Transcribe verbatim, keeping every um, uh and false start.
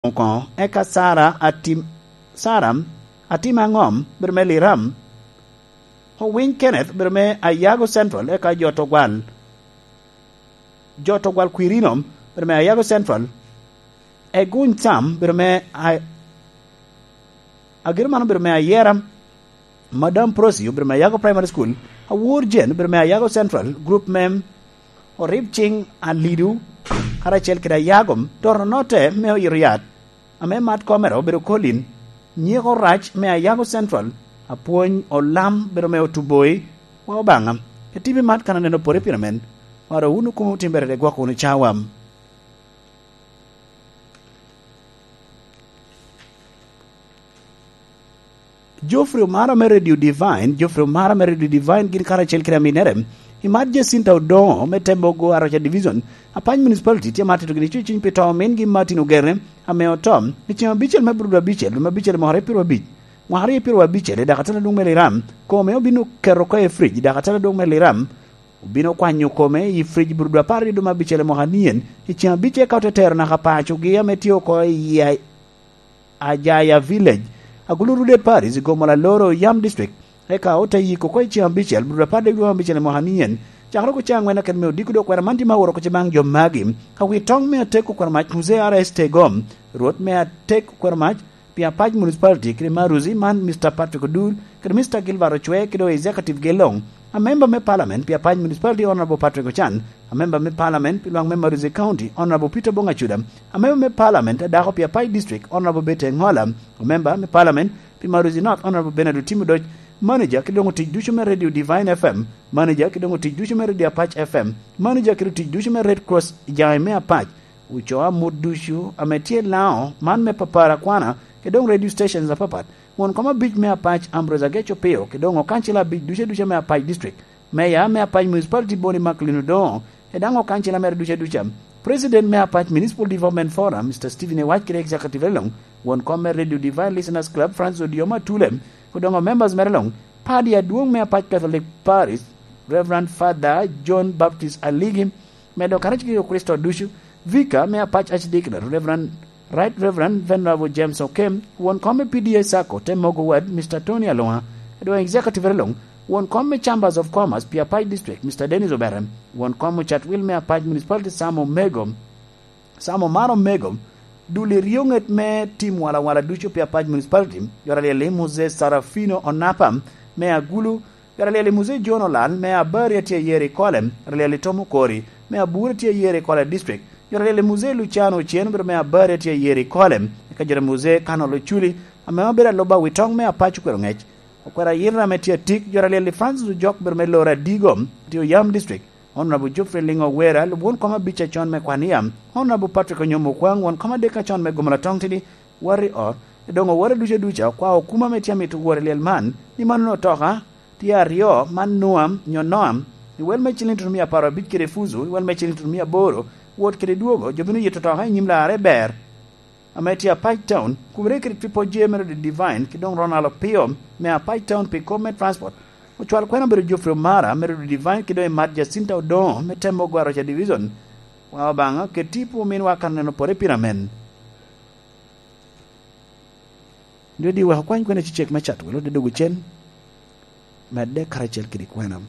Okoŋo, eka Sara Atim, Sara Atim Aŋom, bedo me Liram. Owiny Kenneth, bedo me Ayago Central, eka jo Togwal, jo Togwal Kwirino, bedo me Ayago Central. Eguny Sam, bedo me A-, Agiro mano bedo me Ayera. Madam Prosi obedo me Ayago Primary School. Awor Jen obedo me Ayago Central, group me Orib Cing Alidu, karacel kede Ayago, Doro Note me Oyito Yat, ame mat komere obedo Colin, nyeko rac me Ayago Central, apwony Olam bedo me Otuboi, wa Obaŋa. Etibi mat kan aneno pore pire men, waro wunu kumo timbere de gwoko wunu cawa. Geoffrey Omara me Radio Divine, Geoffrey Omara me Radio Divine gin karacel kede aminere. Imat Jacinta Odongo me Tembogo Aroca Division, Apany Municipality tye ma tito gini cuciny pi to omin gi Martin Ogere ame oto. I ceng abicel me Brudo abicel, lume abicel mwaka aryo pyero abic, mwaka aryo pyero abicel, i dakatala dwong me Liram, kome obino keto oko i fridge, dakatala dwong me Liram, obino kwanyo kome i fridge Brudo apar aryo dwong abicel mwaka nien, i ceng abicel ka ote tero naka pacogi ame tye oko i Ajaya Village, Agulu Rude Parish, i Gomola Loro, Yam District. Eka ote yiko oko i ceng abicel, Brudo apar dek dwe abicel i mwaka nien. Cakere oko ceng angwen akete me odiko dok kwena man tye ma oworo oko ce baŋ jo magi. Ka wi toŋ me atek okwero mac Muzee R S Tegom, Rwot me atek okwero mac pi Apac Municipality kede Maruzi man Mister Patrick Odur, kede Mister Gilbert Ocwe, kede Executive Gelong. A member me Parliament pi Apac Municipality Honorable Patrick Ochan, a member me Parliament pi lwak me Maruzi County Honorable Peter Bongacuda, a member me Parliament a dako pi Apac District Honorable Betty Engola, a member me Parliament pi Maruzi North Honorable Bernard Otim Odoc, manager ki doŋo tic ducu me Radio Divine F M, manager ki doŋo tic ducu me Radio Apac F M, manager ki doŋo tic ducu me Red Cross i jaŋe me Apac, ocoo amut ducu ame tye Lango, man me Papara Kwana, ki doŋ radio stations apapat, won kom abic me Apac Ambrose Agec Opio, ki doŋ okancila abic ducu aduca me Apac District, meya me Apac Municipality Boni Macklin Odoŋo, ki daŋ okancila mere ducu aduca, President me Apac Municipal Development Forum, Mister Stephen Ewac kede Executive Elong, won kom me Radio Divine Listeners Club, Francis Odioma Atule, ki doŋ members mere Elong, Padi adwoŋ me Apac Catholic Parish, Reverend Father John Baptist Aligi, medo karac kede Kricito ducu, Vicar me Apac Archdeaconry, Reverend, Right Reverend Venerable James Okem, won kom me P D A Sacco, te mogo wad, Mister Tony Alonga, doŋ Executive Elong, won kom me Chambers of Commerce pi Apac District, Mister Dennis Obere, won kom ocat wil me Apac Municipality Sam Omego, Sam Omar Omego, dul i ryo ŋet me tim walawala ducu pi Apac Municipality, Yoraliel Moses Sarafino Onapa, me Agulu, Yore Lyel i Muzee John Olal, me Abari atye ayero i Kole. Yore Lyel i Tom Okori, me Abura atye ayero i Kole District. Yore Lyel i Muzee Luciano Ocen, obedo me Abari atye ayero i Kole. Eka Yore Muzee Kanol Oculi, ame obedo aluba wi toŋ me Apac Okwero Ŋec. Okwero Ayira ame tye atik, Yore Lyel i Francis Ojok, obedo me Loro Adigo, tye Oyam District. Honorable Geoffrey Lingo Wera, lub won kom abic acon me Kwania. Honorable Patrick Onyomo Okwaŋ, won kom adek acon me Gomola Toŋ Tidi, Warri Ot, doŋ owore ducu aduca okwao okuma ame tye amito woro i lyel man, ni man onongo otoka tye aryo man Noam, nyo Noam, i wel me ciliŋ tutumia apar abic kede Fuzu, i wel me ciliŋ tutumia aboro, wot kede dwogo, jo bino yito otoka i nyim larre ber, ame tye Apac Town, kumere kede Triple J mere Divine, ki doŋ Ronald Opio, me Apac Town pi kop me transport. Ocwal kwena obedo Geoffrey Omara, mere Divine, ki doŋ Emat Jacinta Odoŋo, me Temo Gwaroca Division. Wa Obaŋa, ket tipo ominwa kan neno pore pira men. Nyo di wek okwany kwene cecek me cat, welo te dogo cen, medde karacel kede kwena.